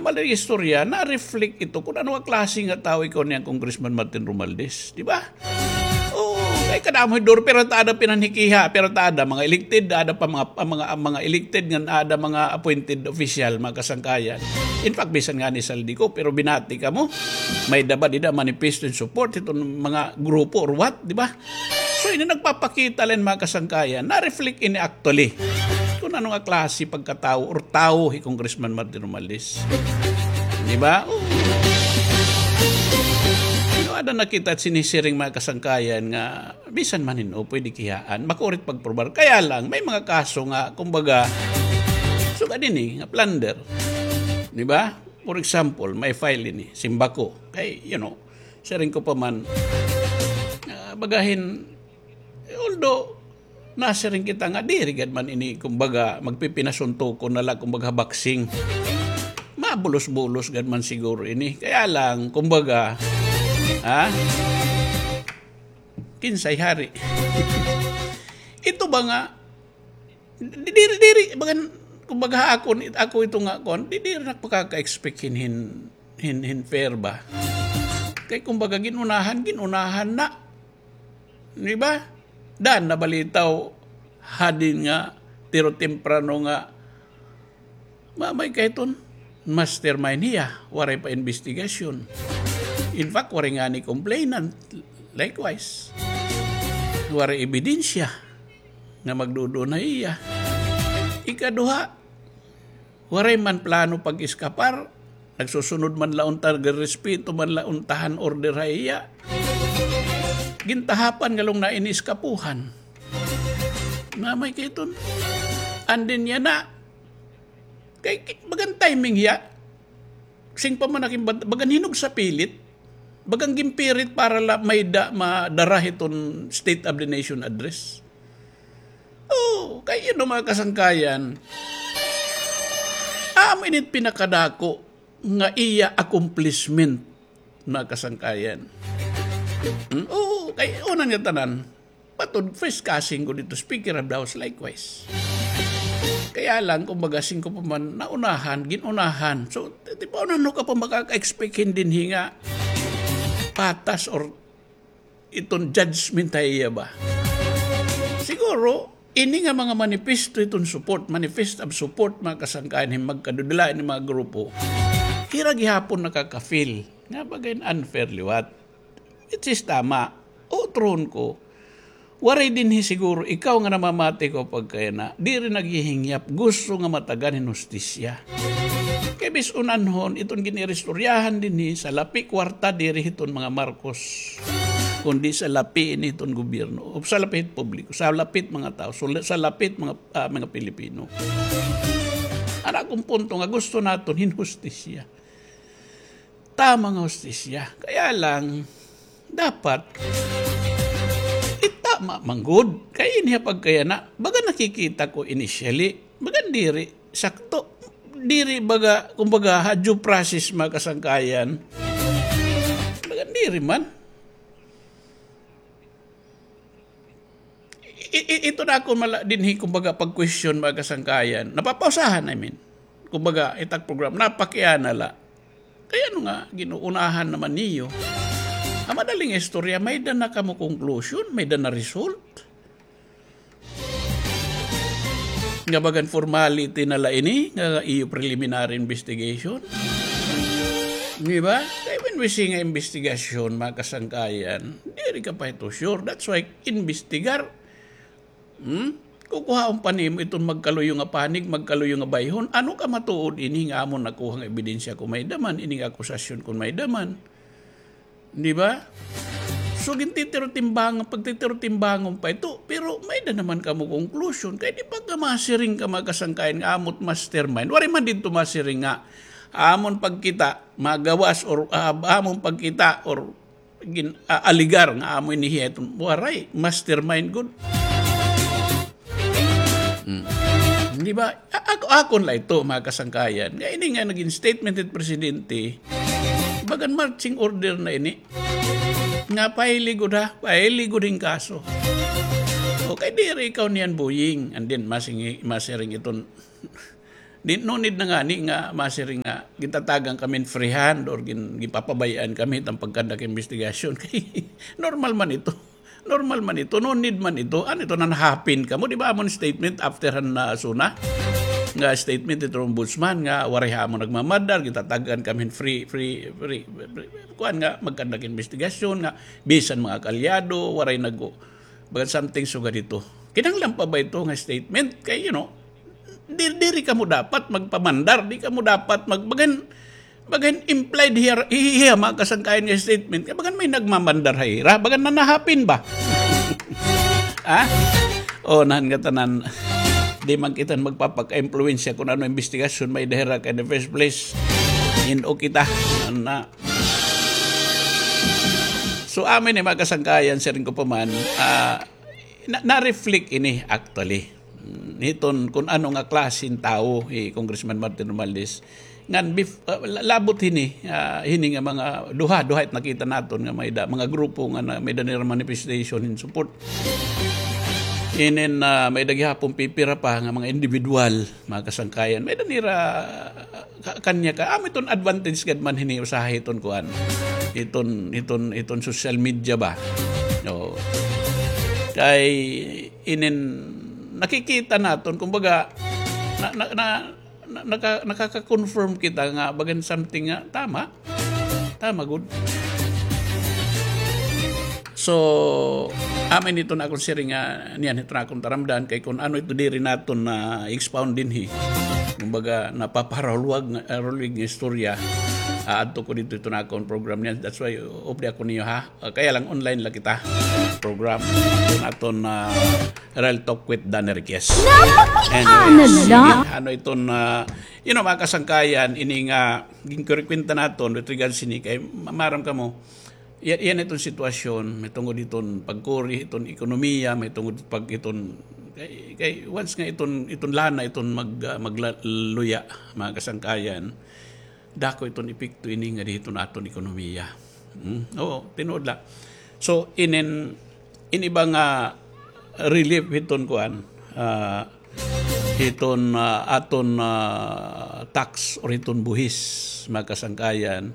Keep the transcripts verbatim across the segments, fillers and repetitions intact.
Mali istorya, na-reflect ito kun ano nga klase nga tawo ikaw niyan, Congressman Martin Romualdez, di ba? Oo, kay kadamo hin duro, pero ta ada pinanhikiha, pero ta ada mga elected, ada pa mga, mga, mga elected ngan ada mga appointed official, mga kasangkayan. In fact, bisan ngani Zaldy Co, pero binati kamo, may-ada ba dida manifesto in support hiton mga grupo or what, di ba? So, ini nagpapakita la hin mga kasangkayan, na-reflect ini actually kun ano nga klase pagkatawo or tawo hi Congressman Martin Romualdez. Di ba? Oo. Pero ada na kita sinisiring mga kasangkayan nga bisan man hin-o pwede kiyaan, makurit pagprobar. Kaya lang, may mga kaso nga, kumbaga, sugad ini, nga plunder. Di ba? For example, may file ini, Symbaco. Kay, you know, siring ko pa man, ah, bagahin, although, nasiring kita nga diri gad man ini, kumbaga, magpipinasuntukon na la, kumbaga, boxing. Mabulos-bulos gad man siguro ini. Kaya lang, kumbaga, ha? Kinsay hari? Ito ba nga, di-, diri, diri, bagan, kumbaga, ako, ako ito nga, kon, di-, diri na pakaka-expect hin, hin, hin, hin fair ba? Kay, kumbaga, gin-unahan, gin-unahan na. Di ba? Daan na balitaw hadin nga tiro temprano nga mamay kay ton mastermind hiya, waray pa imbestigasyon. In fact, waray ngani complainant. Likewise, waray ebidensya nga magduduon ha iya. Ikaduha, waray man plano pag-eskapar, nagsusunod man la unta, nagrerespeto man la unta han order ha iya. Gintahapan ngalong na ini eskapuhan. Mamay kay ton. And then yana, kay, kay, bagan timing hiya. Sing pa man akin, bag-, bagan hinog sa pilit. Bagan ginpirit para la may-ada, madara hiton State of the Nation Address. Oh, kay, you know, mga kasangkayan, amo ini it pinakadako nga iya accomplishment, mga kasangkayan. Hmm? Oo, kay una nga tanan, matod first cousin ko dito, Speaker of the House, likewise. Kaya lang, kumbaga, sing ko pa man, naunahan, gin-unahan. So, di ba, ano ka pa makaka-expect hin dinhi nga patas or iton judgment ha iya ba? Siguro, ini nga mga manifesto iton support, manifest of support, mga kasangkayan, hin magkadudula ini mga grupo, hira gihapon nakaka-feel nga bagan unfair liwat. Which is tama. Utrohon ko, waray dinhi siguro ikaw nga namamati ko pagkayana, diri naghihingyap, gusto nga matagan hin hustisya. Kay bis-on anhon, iton gin-iristoryahan dinhi, salapi kwarta diri hiton mga Marcos, kundi salapi ini hiton gobyerno, o salapi hit publiko, salapi hit mga tawo, sula-, salapi hit mga, ah, mga Pilipino. An akon punto nga gusto naton hin hustisya. Tama nga hustisya. Kaya lang, dapat, itama man gud. Kay ini ha pagkayana, baga nakikita ko initially, baga diri sakto. Diri baga, kumbaga, ha due process, mga kasangkayan. Baga diri man. I-, i-, ito na ako mala-, dinhi, kumbaga, pag-question, mga kasangkayan. Napapausahan, I mean. Kumbaga, it ak program, napakiana la. Kay ano nga, gin-uunahan naman niyo? An madaling istorya, may-ada na kamo conclusion, may-ada na result. Nga bagan formality na la ini, nga iyo preliminary investigation. Di ba? Kay when we say nga investigasyon, mga kasangkayan, diri ka pa ito sure. That's why, investigar. Hmm? Kukuhaon pa nimo iton magkaluyo nga panig, magkaluyo nga bayhon. Ano ka matuod ini nga amon nakuha nga ebidensya kon may-ada man, ini nga akusasyon kon may-ada man? Di ba? So, gintitiro-timbangan, pagtitiro-timbangan pa ito, pero may-ada naman kamo conclusion. Kay di ba ka masiring ka, mga kasangkayan, nga amo it mastermind? Waray man didto masiring nga amon pagkita, magawas, or, ah, amon pagkita, or gin-, ah, alegar nga amo ini hiya iton. Waray, mastermind gud. Hmm. Di ba? A-, ako, akon la ito, mga kasangkayan. Nga ini nga naging statement it presidente, bagan marching order na ini. Nga pahiligod ha, pahiligod hin kaso. Okay, diri ikaw niyan buying. And then, masing-, masiring iton Di, no need na ngani nga masiring nga gintatagan kami hin free hand or gin-, ginpapabay-an kami hit an pagkandak investigasyon. Kay normal man ito. Normal man ito. No need man ito. Ano ito, nanahapin kamo? Di ba amon statement after han, ah, SONA? Nga statement ito ombudsman nga waray ha amon nagmamandar, gintatagan kami hin free, free, free, free, kuan nga magkandak investigasyon nga bisan mga kaalyado, waray nag-, bagan something sugad ito. Kinahanglan pa ba ito nga statement? Kay, you know, Di-, diri kamo dapat magpamandar, di kamo dapat mag-, bagan, bagan implied hiya, hiya, mga kasangkayan nga statement. Kay bagan may nagmamandar ha ira, bagan nanahapin ba? Ha? O, nahan ngatanan. Di man kita magpapaka-impluwensya kun ano imbestigasyon may-ada hira kay in the first place. Hin-o kita. Ana. So, amin ni mga kasangkayan, siring ko pa man, ah, Na, na-reflect ini actually. Mm, hiton kun ano nga klase hin tawo hi Congressman Martin Romualdez. Ngan bef-, ah, la-, labot hini, ah, hini nga mga duha, duha it nakita naton nga may-ada, mga grupo nga na, may-ada nira manifestation hin support. Inin, ah, may-ada gihapon pipira pa nga mga individual, mga kasangkayan. May-ada nira ka-, kanya ka, amo iton advantage gad man hini usahay iton kuan. Iton, iton, iton social media ba? Oo. Kay inin nakikita naton, kumbaga, na, na, na, na, naka-, nakaka-confirm kita nga bagan something nga tama. Tama gud. So, amin iton akon siring nga niyan, iton akon taramdan, kay kun ano ito diri naton na-expound dinhi. Kumbaga, napaparahulwag nga, ah, hulwig nga istorya. Aadto ko didto iton akon program niyan. That's why, updi ako niyo, ha? Ah, kaya lang online la kita. Program. Iton aton, ah, Real Talk with Dan Enriquez. Napakita na la. Sige, ano iton, ah, you know, mga kasangkayan, ini nga ginkurekwenta naton with regards sini kay ma-, maaram kamo, iya-, iyan iton sitwasyon, mahitungod hiton pagkuri hiton ekonomiya, mahitungod pag hiton, kay, kay once nga iton, iton lana iton mag-, ah, magla-, luya, mga kasangkayan, dako iton epekto ini ngadi hiton aton ekonomiya. Hmm? Oo, tinuod la. So, inin, ini ba nga relief hiton kuan, ah, hiton, ah, aton, ah, tax or hiton buhis, mga kasangkayan,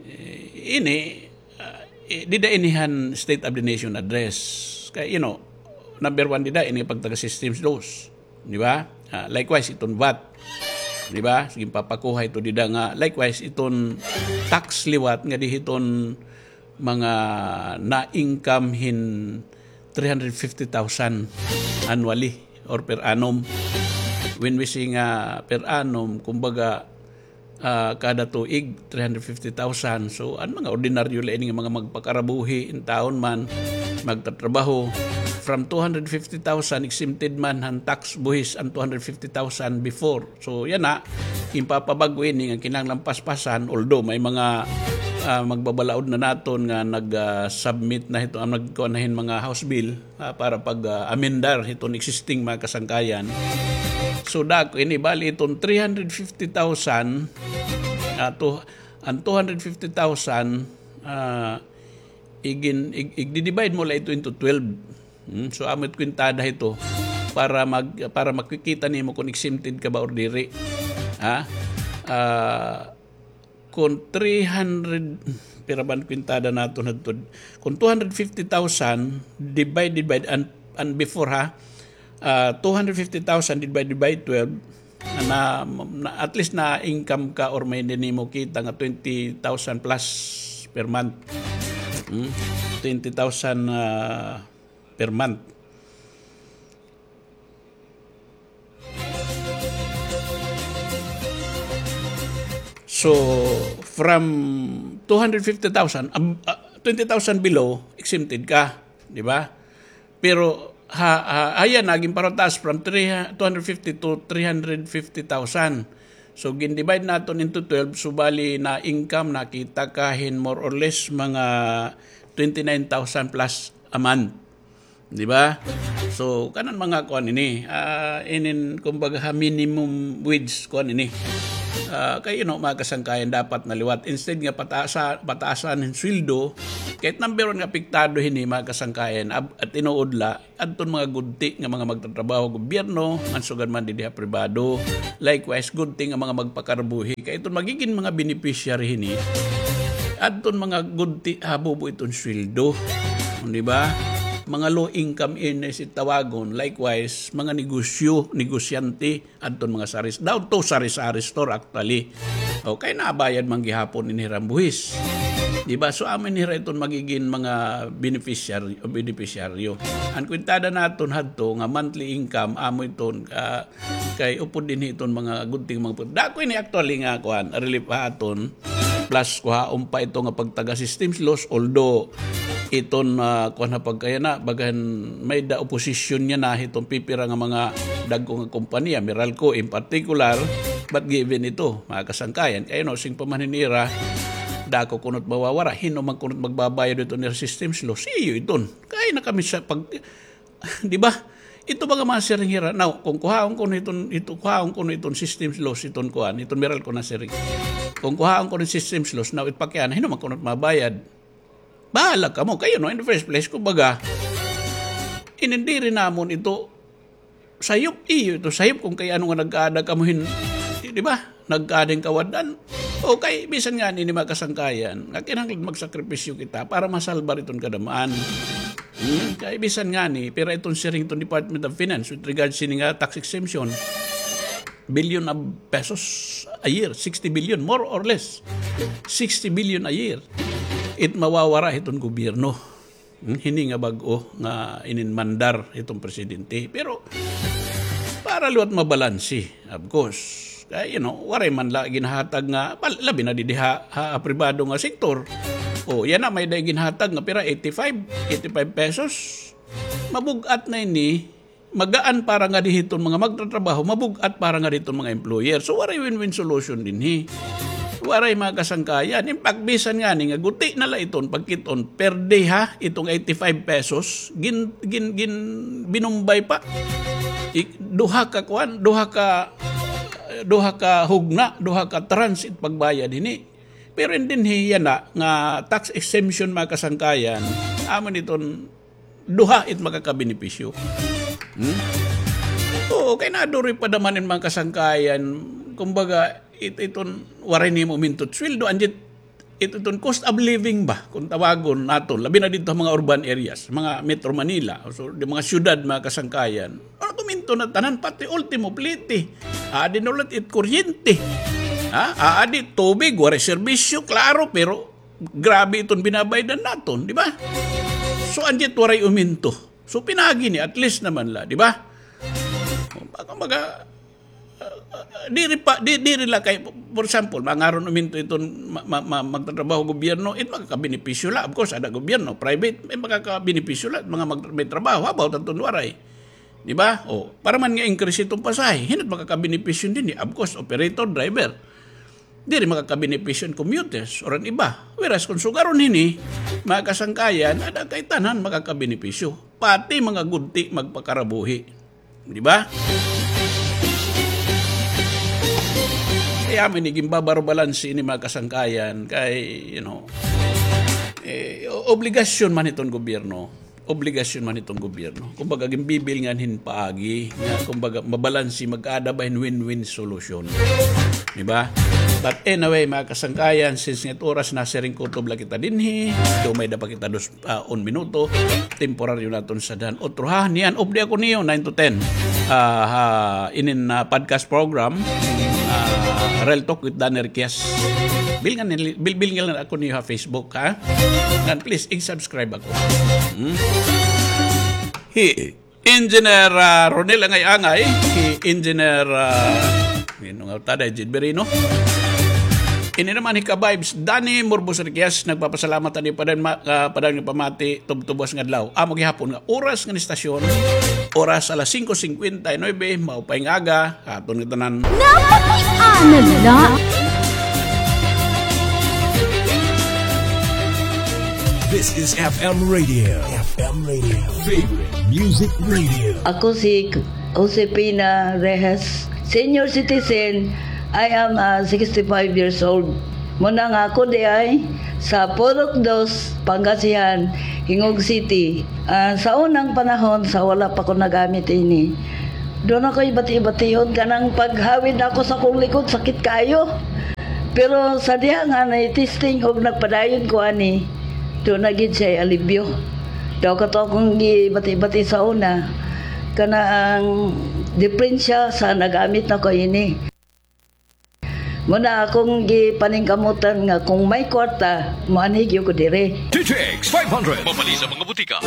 eh, ini, ah, eh, dida ini han State of the Nation Address. Kay, you know, number one dida, ini pagtaga systems laws. Di ba? Ah, likewise, iton vat. Di ba? Sige, papakuha ito dida nga. Likewise, iton tax liwat nga di hiton mga na-income hin three hundred fifty thousand annually or per annum. When we say nga per annum, kumbaga, ah, kada tuig, three hundred fifty thousand. So, an mga ordinaryo la ini nga mga magpakarabuhi, intawon man, magtatrabaho, from two hundred fifty thousand, exempted man han tax buhis an two hundred fifty thousand before. So, yana, ginpapabag-o ini nga kinahanglan paspasan, although may mga, ah, magbabalaod na naton nga nag, ah, submit na hito, ah, nagkuha na hin mga House bill, ah, para pag, ah, amendar hiton existing mga kasangkayan. So, dako ini, bali iton three hundred fifty thousand, ah, to, an two hundred fifty thousand, ah, igin-, ig-, igdi-divide mo la ito into twelve. Hmm, so, amo it kwintada hito para mag-, para makikita nimo kon exempted ka ba or diri. Ha? Ah, kon three hundred, pira ba an kwintada naton hadto? Kon two hundred fifty thousand divided by, an, an before, ha, ah, two hundred fifty thousand divided by twelve, na, na, at least na-income ka or may nimo kita nga twenty thousand plus per month. Hmm? Twenty thousand, ah, per month. So, from two hundred fifty thousand, ab-, ah, twenty thousand below, exempted ka, di ba? Pero, ha, ha, ayan, naging parataas from three, two hundred fifty to three hundred fifty thousand. So, gin-divide naton into twelve, so bali na income, nakita ka hin more or less mga twenty-nine thousand plus a month. Di ba? So, kanan mga kuan ini, ah, inin, kumbaga, ha, minimum wage kuan ini. Ah, kay, you know, mga kasangkayan, dapat na liwat. Instead nga pataasa-, pataasan hin sweldo, kay it number one nga apektado hini, mga kasangkayan, ab-, at tinuod la, adton mga gudti nga mga magtatrabaho gobyerno, ngan sugad man didi ha pribado. Likewise, gudti nga mga magpakarabuhi. Kay iton magigin mga beneficiary hini, adton mga gudti habubo iton sweldo. Di ba? Mga low income earners it tawagon. Likewise, mga negosyo, negosyante, adton mga sari-, down to sari-sari store actually. Okay, nabayad man gihapon ini hira buhis. Di ba? So, amo ini hira iton magigin mga beneficiary-, beneficiaryo. An kwentada naton hadto nga monthly income, amo iton, ah, kay upod dinhi iton mga gudti nga mga put-, dako ini actually nga kuan, relief ha aton. Plus, kuhaon pa ito nga pagtaga systems loss, although iton, ah, kuan ha pagkayana, bagahan may-ada opposition niya na hiton pipira nga mga dagko nga kompanya, Meralco in particular, but given ito, mga kasangkayan, kay nursing pa man hin ira, dako kuno it mawawara, hin-o man kuno it magbabayad hiton ira systems loss, iyo iton. Kay na kami sa pag-, di ba? Ito baga mga siring hira. Now, kung kuhaon kuno iton, ito, kuhaon kuno iton systems loss, iton kuan, iton Meralco na siring. Kung kuhaon kuno it systems loss, now, it pakiana, hin-o man kuno it mabayad. Bahala kamo. Kay, you know, in the first place, kumbaga, inindiri namon ito, sayop, iyo ito, sayop kung kay ano nga nagkaada kamo hin, di, di ba? Nagkaada hin kawadan. O kay, bisan ngani ini mga kasangkayan, nga kinahanglan magsakripisyo kita para masalbar iton kadam-an. Hmm? Kay bisan ngani, pira iton siring iton Department of Finance with regards sini nga tax exemption. Billion of pesos a year, sixty billion, more or less. Sixty billion a year. It mawawara hiton gobyerno. Hmm, hini nga bag-o nga ininmandar hiton presidente. Pero, para liwat mabalanse, of course. Kay, you know, waray man la ginhatag nga, pal-, labi na didi ha, ha, ha pribado nga sektor. O, yana may-ada ginhatag nga pira, eighty-five, eighty-five pesos. Mabug-at na ini, magaan para ngadi hiton mga magtatrabaho, mabug-at para ngadi hiton mga employer. So, waray win-win solution dinhi. Waray mga kasangkayan. In fact, bisan ngani nga guti na la iton, pagkit-on, per day ha, itong eighty-five pesos, gin-, gin-, gin-, binumbay pa. Ik-, duha ka kuan, duha ka, duha ka hugna, duha ka tranche it pagbayad hini. Pero in dinhi yana nga tax exemption mga kasangkayan, amo iton duha it makakabenepisyo. Hmm? Oo, kay naduri pa naman in mga kasangkayan, kumbaga, it-, iton waray nimo uminto it sweldo, anjit it-, iton cost of living ba, kung tawagon naton, labi na didto ha mga urban areas, mga Metro Manila, so, di mga syudad, mga kasangkayan. Ano, kuminto na tanan, pati ultimo plete. Aadi na ulit it kuryente. Ha? Aadi tubig, waray serbisyo, klaro, pero grabe iton binabaydan naton, di ba? So, anjit waray uminto. So, pinagi ni, at least naman la, di ba? Baka maga-, ah, ah, diri pa, di, diri la kay, for example, mangaron uminto iton ma-, ma-, ma-, magtatrabaho gobyerno, it makakabenepisyo la. Of course, ada gobyerno, private, may makakabenepisyo la, mga mag-, may trabaho, how about adton waray? Di ba? O, para man nga increase iton pasahe, hin-o it makakabenepisyo dinhi? Of course, operator, driver. Diri makakabenepisyo an commuters or an iba. Whereas kung sugaron hini, mga kasangkayan, ada kay tanan makakabenepisyo. Pati mga gudti magpakarabuhi. Di ba? Kay amo ini ginbabarobalanse ini mga kasangkayan kay, you know, eh, o-, obligasyon man hiton gobyerno. Obligasyon man hiton gobyerno. Kumbaga, ginbibilngan hin paagi nga, kumbaga, mabalanse, magkaada ba hin win-win solution. Di ba? But anyway, mga kasangkayan, since nga it oras, nasiring kutob la kita dinhi, dumay da pa kita dos, ah, un minuto, temporaryo naton sadhan. Otro ha, niyan, off day ako niyo, nine to ten. Ah, ha, inin, ah, podcast program, ah, Real Talk with Danny Requias. Bilngan, bil-, bilngan ako niyo ha Facebook, ha? Ngan please, ig-subscribe ako. Hmm? Hi Engineer, ah, Ronel Angay-Angay, hi Engineer, ah, sino nga tada, Jed Berino. Ini naman hi Ka-Vibes, Danny Morbos Requias, nagpapasalamat ani pa dayon ma-, ah, pa dayon nga pamati, tubtubos nga adlaw. Amo gihapon nga oras ngan istasyon, oras alas singko singkwenta y nuebe, maupay nga aga, Aton nga tanan. Napakiana la. This is F M Radio. F M Radio. Favorite Music Radio. Ako si Josefina Rejas, senior citizen, I am, ah, sixty-five years old. Muna nga ako diay sa Purok Dos, Pangasinan, Gingoog City. Ah, sa unang panahon, sa wala pa ko nagamit ini, duna akoy bati-batihon kanang paghawid nako sa akon likod, sakit kaayo. Pero sa diha nga na-testing ug nagpadayon ko ani, duna gid siya alibyo. Daw kato akon gibati-bati sa una, kana ang diperensya sa nagamit nako ini. Muna akon gipaningkamutan nga kon may kwarta, moanhi gyud ko diri. D T X five hundred. Mapalit sa mga butika.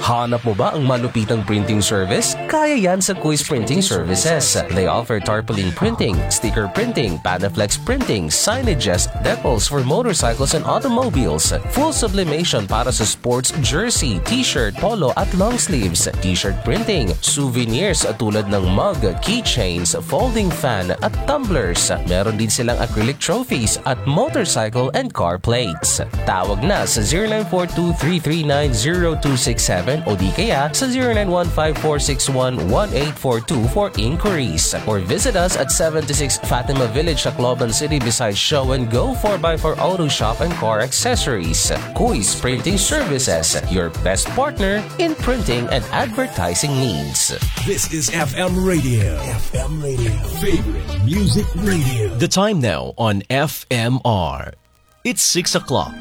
Hanap mo ba ang malupitang printing service? Kaya yan sa Kuis Printing Services. They offer tarpaulin printing, sticker printing, Panaflex printing, signages, decals for motorcycles and automobiles, full sublimation para sa sports jersey, t-shirt, polo at long sleeves, t-shirt printing, souvenirs tulad ng mug, keychains, folding fan at tumblers. Meron din silang acrylic trophies at motorcycle and car plates. Tawag na sa zero nine four two three three nine zero two six seven o di kaya sa zero nine one five four six one one eight four two for inquiries. Or visit us at seventy-six Fatima Village, Tacloban City, beside Show and Go four by four Auto Shop and Car Accessories. Kuis Printing Services, your best partner in printing and advertising needs. This is F M Radio. F M Radio. Favorite music radio. The time now on F M R. It's six o'clock.